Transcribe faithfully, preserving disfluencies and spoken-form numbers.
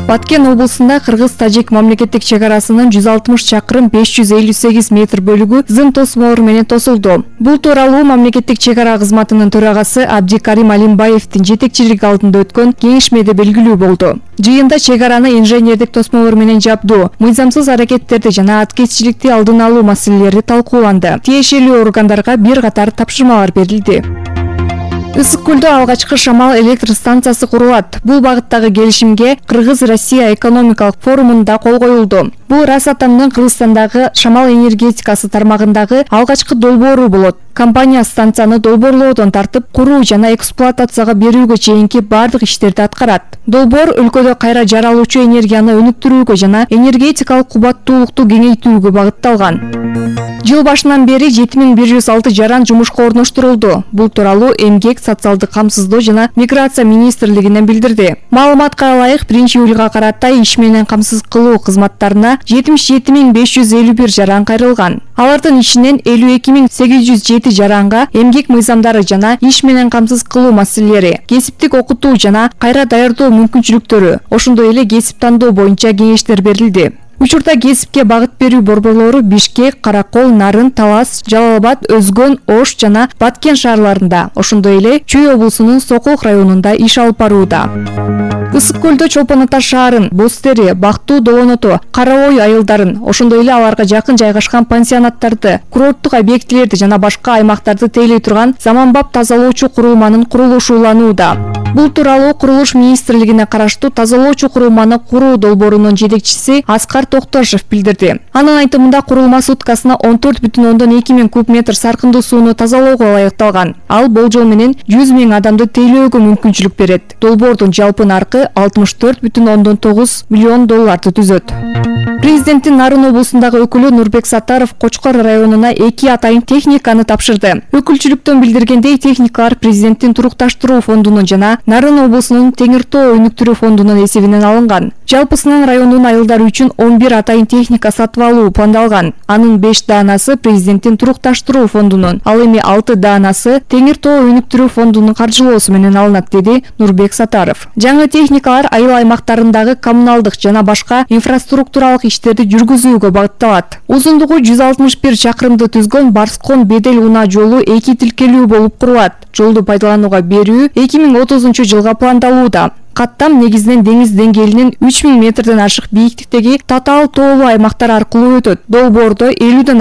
Баткен облусунда Кыргыз-Тажик мамлекеттик чек арасынын жүз алтымыш чакырым беш жүз элүү сегиз метр бөлүгү зым тосмолор менен тосулду. Бул тууралуу мамлекеттик чек ара кызматынын төрагасы Абдикарим Алимбаевдин жетекчилиги алдында өткөн кеңешмеде белгилүү болду. Жыйында чек араны инженердик тосмолор менен жабдуу, мыйзамсыз аракеттерди жана аткезчиликти алдын алуу маселелери талкууланды. Тиешелүү органдарга бир катар тапшырмалар берилди. Ысык көлдө алгачкы шамал электр станциясы курулат. Бул багыттагы келишимге Кыргыз-Россия экономикалык форумунда кол коюлду. Бул Росатомдун Кыргызстандагы шамал энергетикасы тармагындагы алгачкы долбоору болот. Компания станцияны долбоорлоодон тартып, куруу жана эксплуатацияга берүүгө чейинки бардык иштерди аткарат. Долбоор өлкөдө кайра жаралуучу энергияны өнүктүрүүгө жана энергетикалык кубаттуулукту кеңейтүүгө багытталган. Жыл башынан бери жети миң бир жүз алты жаран жумушка орноштурулду. Бул тууралуу Эмгек, социалдык камсыздоо жана миграция министрлигинен билдирди. Маалыматка ылайык, биринчи июлга карата иш менен камсыз кылуу кызматтарына жетимиш жети миң беш жүз элүү бир жаран кайрылган. Алардын ичинен элүү эки миң сегиз жүз жети жаранга эмгек мыйзамдары жана иш менен камсыз кылуу маселелери, кесиптик окутуу жана кайра даярдоо мүмкүнчүлүктөрү, ошондой эле кесип тандоо боюнча кеңештер берилди. Учурда кесипке багыт берүү борборлору Бишкек, Каракол, Нарын, Талас, Жалал-Абад, Өзгөн, Ош жана Баткен шаарларында, ошондой эле Чүй облусунун Сокулук районунда иш алып барууда. Ысык көлдө Чолпон Ата шаарын, Боз Тери, Бактуу Долоноту, Кара Ой айылдарын, ошондой эле аларга жакын жайгашкан пансионаттарды, курорттук объектилерди жана башка аймактарды тейлей турган заманбап тазалоочу курулманын курулушу уланууда. Бул тууралуу Курулуш министрлигине караштуу тазалоочу курулманы куруу долбоорунун жетекчиси Аскар Токтошев билдирди. Анын айтымында курулма суткасына он төрт бүтүн ондон эки миң куб метр саркындуу сууну тазалоого ылайыкталган. Ал болжол менен жүз миң адамды тейлөөгө мүмкүнчүлүк берет. Долбоордун жалпы наркы алтымыш төрт бүтүн ондон тогуз миллион долларды түзөт. Президенттин Нарын облусундагы өкүлү Нурбек Саттаров Кочкор районуна эки атайын техниканы тапшырды. Өкүлчүлүктөн билдиргендей, техникалар президенттин турукташтыруу фондунун жана Нарын облусунун Теңир Тоо өнүктүрүү фондунун эсебинен алынган. Жалпысынан райондун айылдары үчүн он бир атайын техника сатып алуу пландалган. Анын беш даанасы президенттин турукташтыруу фондунун, ал эми алты даанасы Теңир Тоо өнүктүрүү фондунун каржылоосу менен алынат, деди Нурбек Саттаров. Жаңы техникалар айыл аймактарындагы коммуналдык жана башка инфраструктуралык иштерди жүргүзүүгө багытталат. Узундугу жүз алтымыш бир чакырымды түзгөн Барскон Бедел унаа жолу эки тилкелүү болуп курулат. Жолду пайдаланууга берүү эки миң отузунчу жылга пландалууда. Каттам негизинен деңиз деңгээлинин үч миң метрден ашык бийиктиктеги татаал тоолуу аймактар аркылуу өтөт. Долбоордо элүүдөн